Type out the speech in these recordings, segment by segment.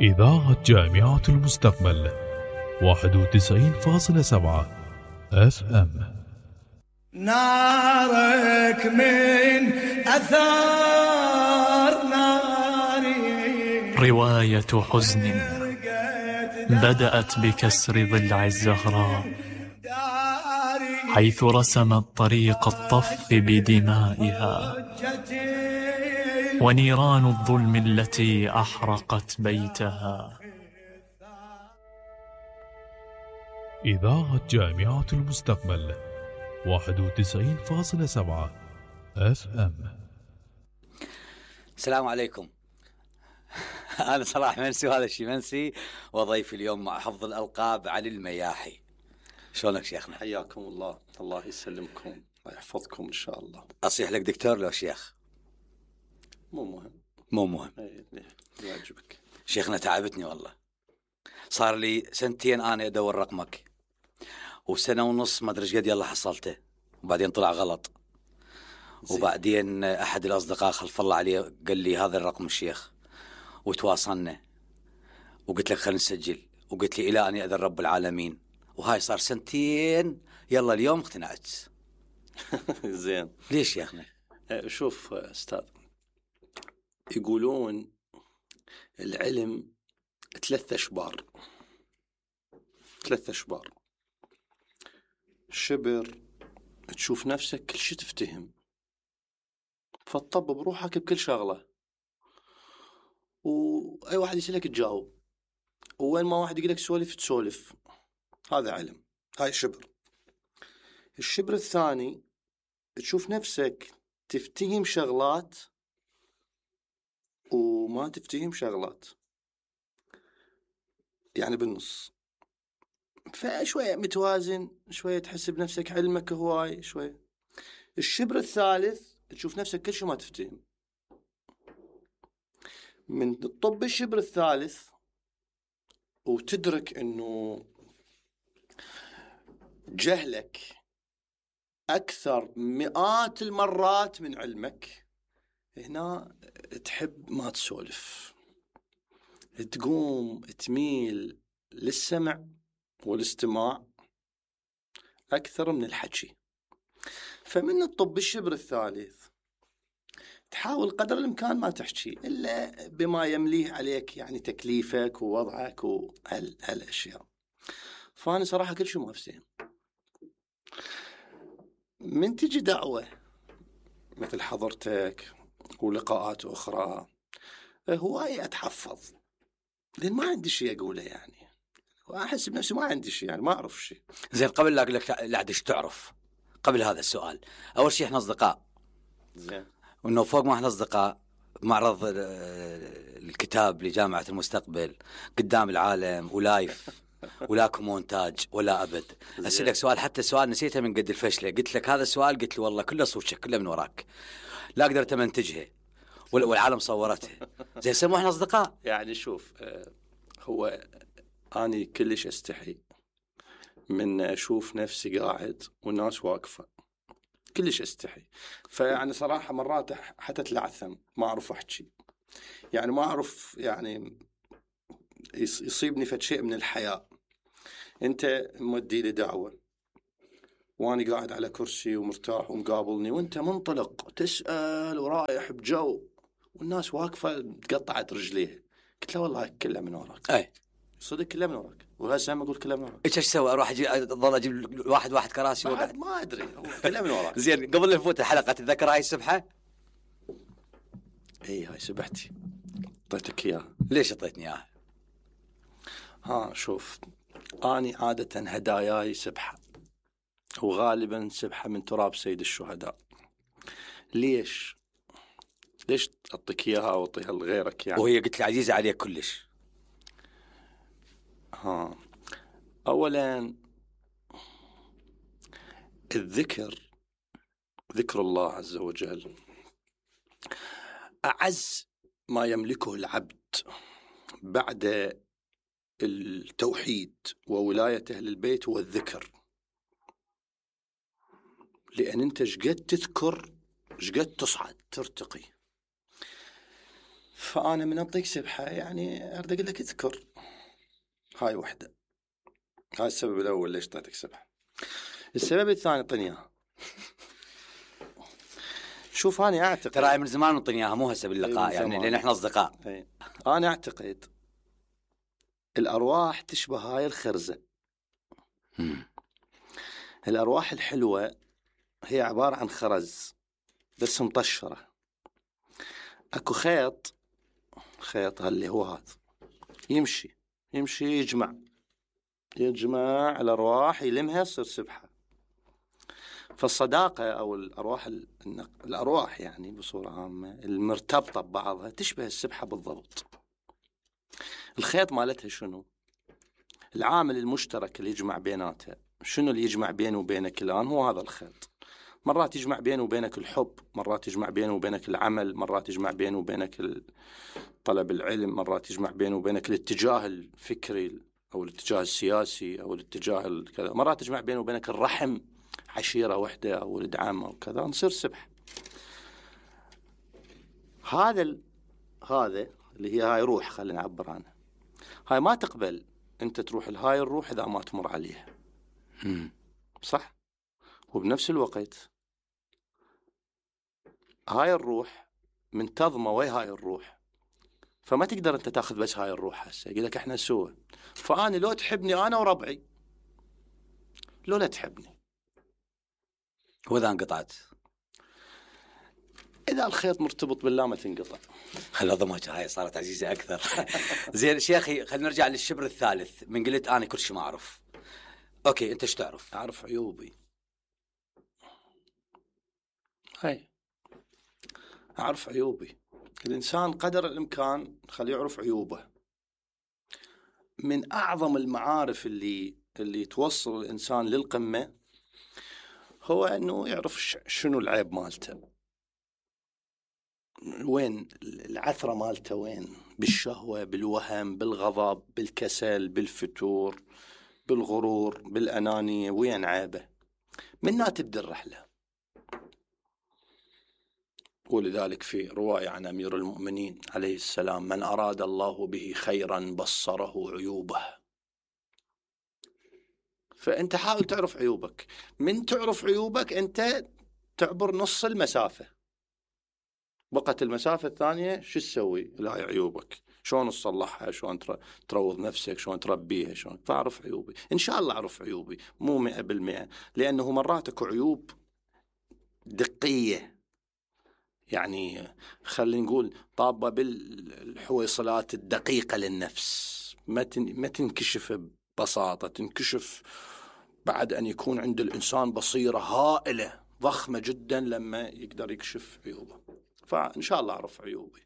إذاعة جامعة المستقبل 91.7 FM. نارك من أثار ناري، رواية حزن بدأت بكسر ضلع الزهراء، حيث رسمت طريق الطف بدمائها ونيران الظلم التي أحرقت بيتها. إذاعة جامعة المستقبل 91.7 FM. السلام عليكم. أنا صلاح منسي وهذا الشي منسي، وضيفي اليوم مع حفظ الألقاب علي المياحي. شلونك شيخنا؟ حياكم الله. الله يسلمكم، الله يحفظكم إن شاء الله. أصيح لك دكتور لو شيخ؟ مو مهم. يعجبك شيخنا. تعبتني والله، صار لي سنتين أنا أدور رقمك، وسنة ونص ما أدري ايش قد يلا حصلته، وبعدين طلع غلط. وبعدين أحد الأصدقاء خلف الله عليه قال لي هذا الرقم الشيخ، وتواصلنا وقلت لك خلينا نسجل، وقلت لي إلى أن يأذن رب العالمين، وهاي صار سنتين. يلا اليوم اقتنعت. زين. ليش يا أخي؟ شوف أستاذ، يقولون العلم 3 أشبار. 3 أشبار. شبر تشوف نفسك كل شيء تفتهم، فتطبب بروحك بكل شغلة، وأي واحد يسألك تجاوب، وين ما واحد يقولك سولف تسولف. هذا علم، هاي شبر. الشبر الثاني تشوف نفسك تفتهم شغلات وما تفتهم شغلات، يعني بالنص، فشوية متوازن، شوية تحس بنفسك علمك هواي شوية. الشبر الثالث تشوف نفسك كل شيء ما تفتهم. من الطب الشبر الثالث وتدرك انه جهلك اكثر مئات المرات من علمك، هنا تحب ما تسولف، تقوم تميل للسمع والاستماع أكثر من الحكي. فمن الطب الشبر الثالث تحاول قدر الإمكان ما تحكي إلا بما يمليه عليك، يعني تكليفك ووضعك وهالأشياء. فأنا صراحة كل شيء ما أفهم. من تجي دعوة مثل حضرتك ولقاءات أخرى، هواية أتحفظ، لأن ما عندي شيء أقوله، يعني وأحس بنفسي ما عندي شيء، يعني ما أعرف شيء. زين، قبل لا أقول لك لا ايش تعرف، قبل هذا السؤال، أول شيء إحنا أصدقاء. زين. وإنه فوق ما إحنا أصدقاء، معرض الكتاب لجامعة المستقبل قدام العالم ولايف، ولاكم مونتاج ولا أبد. أسألك سؤال، حتى سؤال نسيته من قد الفشلة، قلت لك هذا السؤال، قلت لي والله كله صوتك كله من وراك، لا قدرت أمنتجها والعالم صورتها. زين، سمو إحنا أصدقاء. يعني شوف، هو أنا كلش أستحي من أشوف نفسي قاعد والناس واقفة، كلش أستحي. فيعني صراحة مرات حتى تلعثم، ما أعرف أحكي، يعني ما أعرف، يعني يصيبني فد شيء من الحياة. أنت مودي لي دعوة وأنا قاعد على كرسي ومرتاح ومقابلني، وأنت منطلق تسأل ورايح بجو، والناس واقفة تقطعت رجليها. قلت له والله كلها من وراك. أي صدق كلها من وراك، وهسه ما أقول كلها من وراك. إيش أسوي؟ أروح أظل أجيب واحد كراسي بعد ما أدري، كلها من وراك. زين، قبل لا نفوت الحلقة، تتذكر هاي السبحة؟ إيه، هاي سبحتي، أعطيتك إياها. ليش أعطيتني إياها؟ شوف، أنا عادة هداياي سبحة، وغالبا سبحة من تراب سيد الشهداء. ليش أعطيك إياها أو أعطيها لغيرك يعني؟ وهي قلت لي عزيزة عليك كلش. أولا ذكر الله عز وجل أعز ما يملكه العبد بعد التوحيد وولاية أهل البيت، هو الذكر. لأن أنت شقد تذكر شقد تصعد ترتقي. فأنا من أعطيك سبحة يعني أريد أقول لك اذكر هاي وحدة. هاي السبب الأول ليش أعطيتك سبحة. السبب الثاني أعطيني إياها. شوف أنا أعتقد ترى من زمان نعطيني إياها، مو هسه باللقاء يعني لأن إحنا أصدقاء. أنا أعتقد الأرواح تشبه هاي الخرزة. الأرواح الحلوة هي عبارة عن خرز بس مطشرة. أكو خيط اللي هو هذا يمشي يجمع الأرواح يلمها تصير سبحة. فالصداقة أو الأرواح يعني بصورة عامة المرتبطة ببعضها تشبه السبحة بالضبط. الخيط مالتها شنو؟ العامل المشترك اللي يجمع بيناتها. شنو اللي يجمع بينه وبينك الآن؟ هو هذا الخيط. مرات يجمع بينه وبينك الحب، مرات يجمع بينه وبينك العمل، مرات يجمع بينه وبينك طلب العلم، مرات يجمع بينه وبينك الاتجاه الفكري أو الاتجاه السياسي أو الاتجاه كذا، مرات يجمع بينه وبينك الرحم، عشيرة وحدة أو ولد عم أو كذا، نصير سبح. هذا اللي هي هاي روح، خلينا نعبر عنها. هاي ما تقبل أنت تروح لهاي الروح إذا ما تمر عليها. صح؟ وبنفس الوقت هاي الروح منتظمة ويا هاي الروح، فما تقدر أنت تأخذ بس هاي الروح. هسه يقول لك إحنا سوا، فأنا لو تحبني أنا وربعي، لو لا تحبني، وإذا انقطعت، إذا الخيط مرتبط بالله ما تنقطع. خلي ضمك هاي صارت عزيزة أكثر. زين شيخي، خلينا نرجع للشبر الثالث. من قلت أنا كل شيء ما أعرف، أوكي أنت إيش تعرف؟ أعرف عيوبي. هاي أعرف عيوبي. الإنسان قدر الإمكان خليه يعرف عيوبه. من أعظم المعارف اللي توصل الإنسان للقمة هو أنه يعرف شنو العيب مالته، وين العثرة مالته، وين بالشهوة، بالوهم، بالغضب، بالكسل، بالفتور، بالغرور، بالأنانية، وين عيبه. منها تبدأ الرحلة. ولذلك في رواية عن أمير المؤمنين عليه السلام: من أراد الله به خيرا بصره عيوبه. فأنت حاول تعرف عيوبك. من تعرف عيوبك أنت تعبر نص المسافة، بقت المسافة الثانية شو تسوي؟ لا عيوبك شلون تصلحها، شلون تروض نفسك، شلون تربيها، شلون تعرف عيوبي. إن شاء الله أعرف عيوبي، مو 100%، لأنه مرات أكو عيوب دقية، يعني خلينا نقول طابة بالحويصلات الدقيقة للنفس، ما تنكشف ببساطة، تنكشف بعد أن يكون عند الإنسان بصيرة هائلة ضخمة جدا لما يقدر يكشف عيوبه. فإن شاء الله أعرف عيوبي.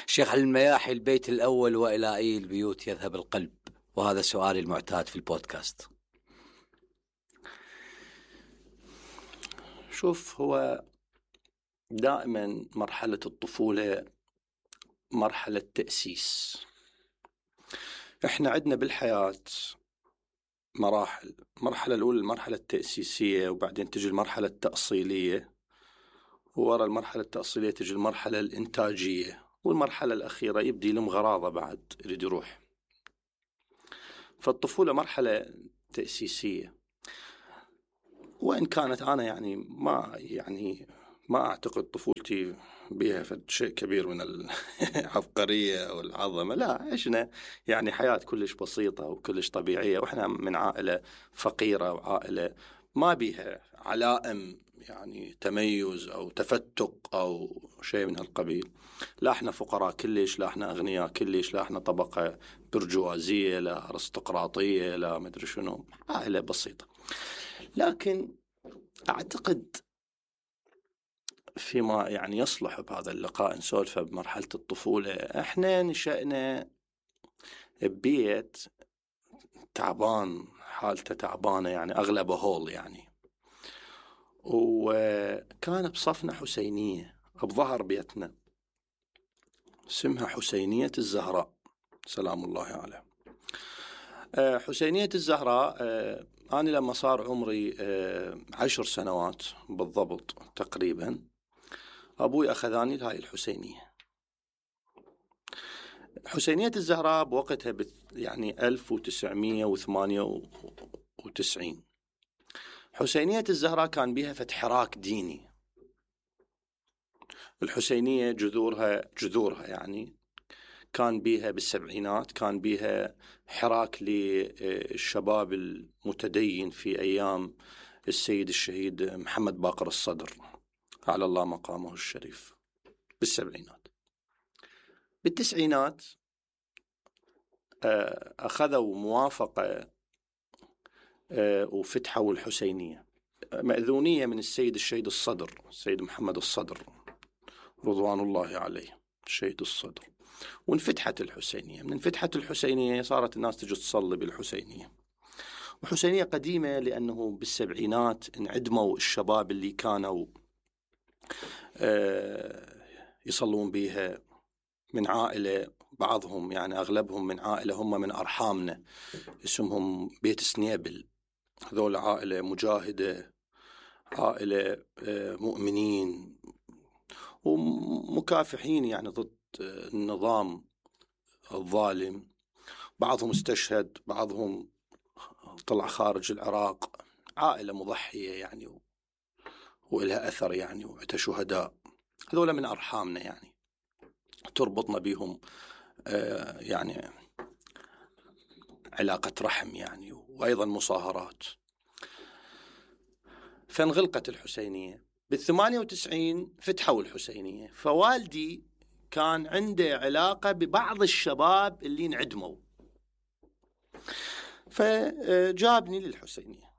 شيخ، المياحي البيت الأول وإلى أي البيوت يذهب القلب؟ وهذا سؤالي المعتاد في البودكاست. شوف، هو دائما مرحلة الطفولة مرحلة تأسيس. احنا عندنا بالحياة مراحل. المرحلة الأولى المرحلة التأسيسية، وبعدين تجي المرحلة التأصيلية، ووراء المرحلة التأصيلية تجي المرحلة الإنتاجية، والمرحلة الأخيرة يبدي لهم غراضة بعد يريد يروح. فالطفولة مرحلة تأسيسية، وإن كانت أنا ما أعتقد طفولتي بها شيء كبير من العبقرية أو العظمة، لا، عشنا يعني حياة كلش بسيطة وكلش طبيعية، وإحنا من عائلة فقيرة وعائلة ما بيها علائم يعني تميز أو تفتق أو شيء من هالقبيل. لا إحنا فقراء كلش، لا إحنا أغنياء كلش، لا إحنا طبقة برجوازية، لا أرستقراطية، لا مدري شنو، عائلة بسيطة. لكن أعتقد فيما يعني يصلح بهذا اللقاء نسولف بمرحلة الطفولة. إحنا نشأنا ببيت تعبان، حالته تعبانة، يعني أغلبه هول يعني، وكان بصفنا حسينية بظهر بيتنا اسمها حسينية الزهراء سلام الله عليها. حسينية الزهراء، أنا لما صار عمري 10 سنوات بالضبط تقريبا، أبوي أخذاني لهاي الحسينية. حسينية الزهراء بوقتها يعني 1998. حسينية الزهراء كان بها حراك ديني. الحسينية جذورها يعني كان بها بالسبعينات، كان بها حراك للشباب المتدين في أيام السيد الشهيد محمد باقر الصدر على الله مقامه الشريف بالسبعينات. بالتسعينات أخذوا موافقة وفتحوا الحسينية، مأذونية من السيد الشهيد الصدر، السيد محمد الصدر رضوان الله عليه، الشهيد الصدر. وانفتحت الحسينية. من انفتحت الحسينية صارت الناس تجي تصلي بالحسينية. وحسينية قديمة لأنه بالسبعينات انعدموا الشباب اللي كانوا يصلون بها من عائلة، بعضهم يعني أغلبهم من عائلة هم من أرحامنا اسمهم بيت سنيبل. هذول عائلة مجاهدة، عائلة مؤمنين ومكافحين يعني ضد النظام الظالم. بعضهم استشهد، بعضهم طلع خارج العراق. عائلة مضحية يعني وإلها أثر يعني، وعندها شهداء. هذول من أرحامنا يعني، تربطنا بهم يعني علاقة رحم يعني، وأيضا مصاهرات. فانغلقت الحسينية. بال98 فتحوا الحسينية. فوالدي كان عنده علاقة ببعض الشباب اللي انعدموا، فجابني للحسينية.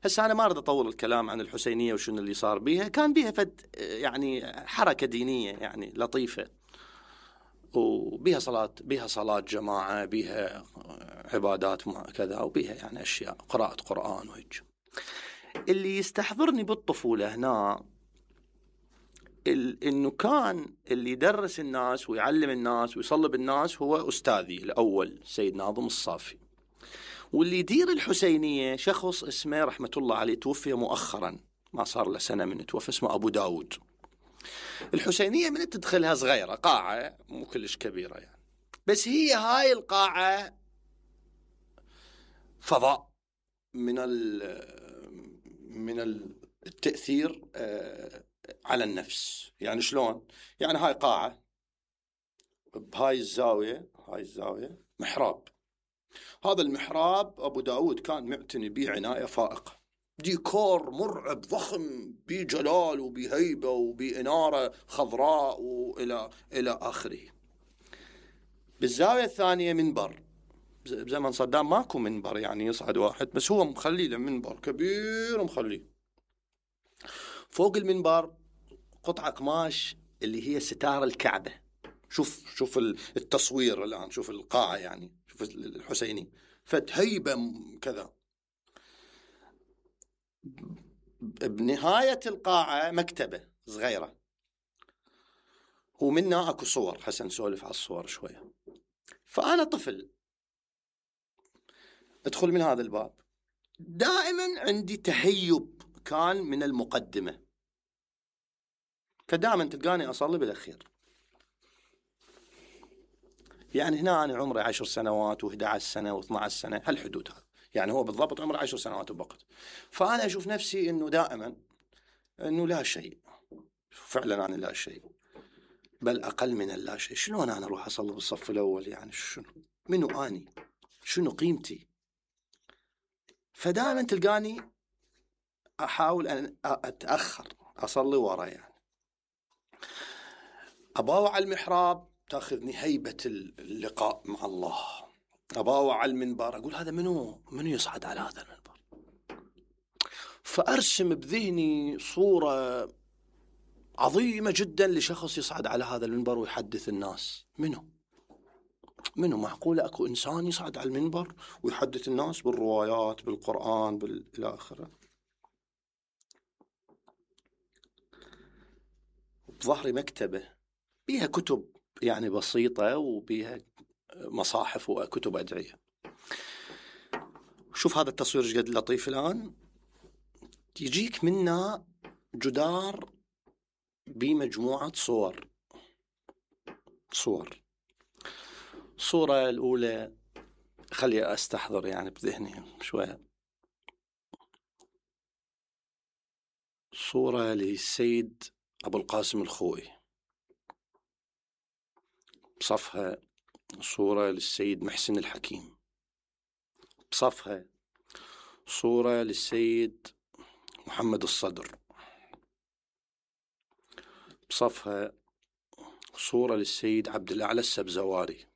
هسه أنا ما أريد أطول الكلام عن الحسينية وشنو اللي صار بيها. كان بيها يعني حركة دينية يعني لطيفة، وبيها صلاة جماعة، بيها عبادات كذا، وبيها يعني أشياء قراءة قرآن وهيك. اللي يستحضرني بالطفولة هنا إنه كان اللي يدرس الناس ويعلم الناس ويصلب الناس هو أستاذي الأول سيد ناظم الصافي. واللي يدير الحسينية شخص اسمه رحمة الله عليه، توفي مؤخرا، ما صار له سنة من توفى، اسمه أبو داود. الحسينية من تدخلها صغيرة، قاعة مو كلش كبيرة يعني، بس هي هاي القاعة فضاء من التأثير على النفس. يعني شلون؟ يعني هاي قاعة بهاي الزاوية، هاي الزاوية محراب. هذا المحراب أبو داود كان معتني به عناية فائقة، ديكور مرعب ضخم بجلال وبهيبة وبإنارة خضراء إلى آخره. بالزاوية الثانية منبر، بزمن صدام ماكو منبر يعني يصعد واحد، بس هو مخلي له منبر كبير ومخليه. فوق المنبر قطعة قماش اللي هي ستار الكعبة. شوف التصوير الآن، شوف القاعة يعني، شوف الحسيني فتهيبة كذا. بنهاية القاعة مكتبة صغيرة، ومنها اكو صور، حسن نسولف على الصور شوية. فأنا طفل ادخل من هذا الباب، دائما عندي تهيب كان من المقدمة، فدائما تلقاني أصلي بالأخير. يعني هنا أنا عمري 10 سنوات و11 سنة و12 سنة، هالحدود هذا يعني، هو بالضبط عمري 10 سنوات وبقت. فأنا أشوف نفسي إنه دائما إنه لا شيء، فعلا أنا لا شيء، بل أقل من اللا شيء. شلون أنا أروح أصلي بالصف الأول يعني؟ منو أني؟ شنو قيمتي؟ فدائما تلقاني أحاول أن أتأخر أصلي ورا يعني. أباوع على المحراب تأخذني هيبة اللقاء مع الله. أباوع على المنبر أقول هذا منو يصعد على هذا المنبر؟ فأرسم بذهني صورة عظيمة جدا لشخص يصعد على هذا المنبر ويحدث الناس. منو معقولة أكو إنسان يصعد على المنبر ويحدث الناس بالروايات بالقرآن إلى آخره؟ بظهري مكتبة بيها كتب يعني بسيطة، وبيها مصاحف وكتب أدعية. شوف هذا التصوير جد لطيف الآن، يجيك منا جدار بمجموعة صور. الصورة الأولى خلي أستحضر يعني بذهني شوية. صورة للسيد أبو القاسم الخوئي، بصفها صورة للسيد محسن الحكيم، بصفها صورة للسيد محمد الصدر، بصفها صورة للسيد عبد الأعلى السبزواري،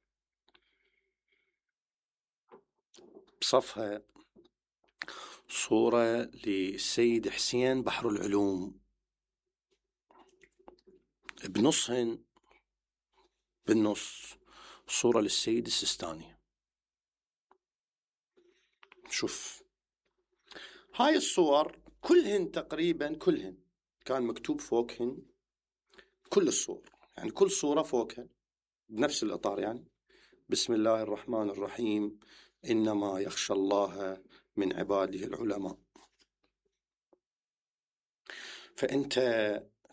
بصفها صورة للسيد حسين بحر العلوم، بنصهن بالنص صورة للسيد السيستاني. شوف هاي الصور كلهن تقريبا كلهن كان مكتوب فوقهن كل الصور، يعني كل صورة فوقها بنفس الإطار، يعني بسم الله الرحمن الرحيم إنما يخشى الله من عباده العلماء. فأنت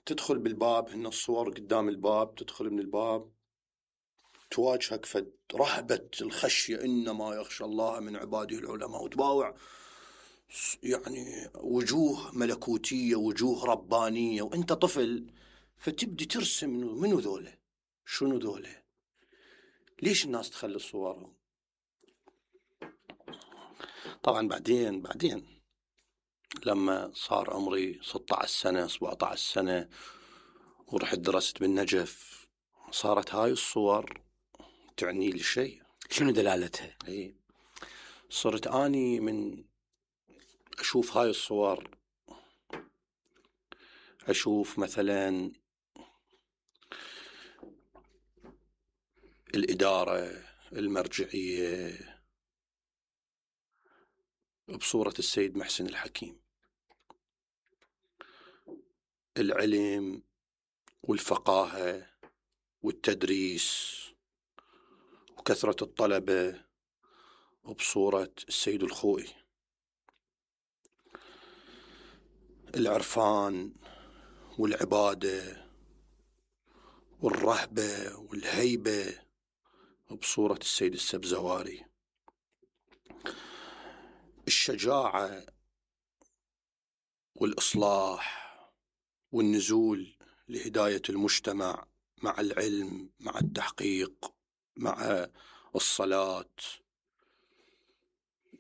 تدخل بالباب، هن الصور قدام الباب، تدخل من الباب تواجهك فد رهبة الخشية إنما يخشى الله من عباده العلماء، وتباوع يعني وجوه ملكوتية وجوه ربانية، وأنت طفل فتبدي ترسم منو ذوله، شنو ذوله، ليش الناس تخلي صورهم. طبعا بعدين لما صار عمري 16 سنة 17 سنة ورحت درست بالنجف، صارت هاي الصور تعني لي شيء. شنو دلالتها؟ صرت أني من أشوف هاي الصور أشوف مثلا الإدارة المرجعية بصورة السيد محسن الحكيم، العلم والفقاهة والتدريس وكثرة الطلبة بصورة السيد الخوئي، العرفان والعبادة والرهبة والهيبة بصورة السيد السبزواري، الشجاعة والإصلاح والنزول لهداية المجتمع مع العلم مع التحقيق مع الصلاة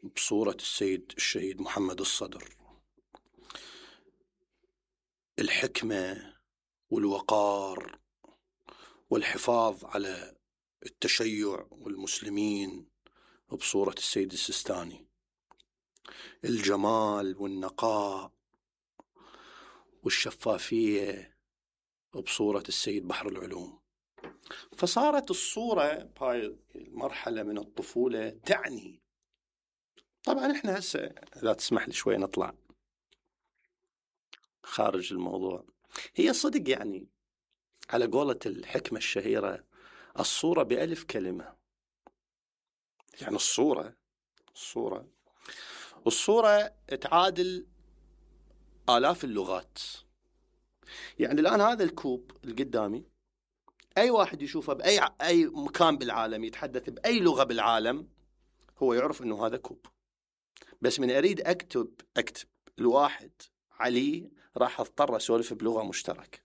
بصورة السيد الشهيد محمد الصدر، الحكمة والوقار والحفاظ على التشيع والمسلمين بصورة السيد السيستاني، الجمال والنقاء والشفافية بصورة السيد بحر العلوم. فصارت الصورة بهاي المرحلة من الطفولة تعني. طبعا احنا هسه لا تسمح لي شوي نطلع خارج الموضوع. هي صدق يعني على قولة الحكمة الشهيرة الصورة بألف كلمة، يعني الصورة تعادل آلاف اللغات. يعني الآن هذا الكوب القدامي أي واحد يشوفه بأي مكان بالعالم يتحدث بأي لغة بالعالم هو يعرف أنه هذا كوب. بس من أريد أكتب الواحد علي راح أضطر أسولف بلغة مشتركة.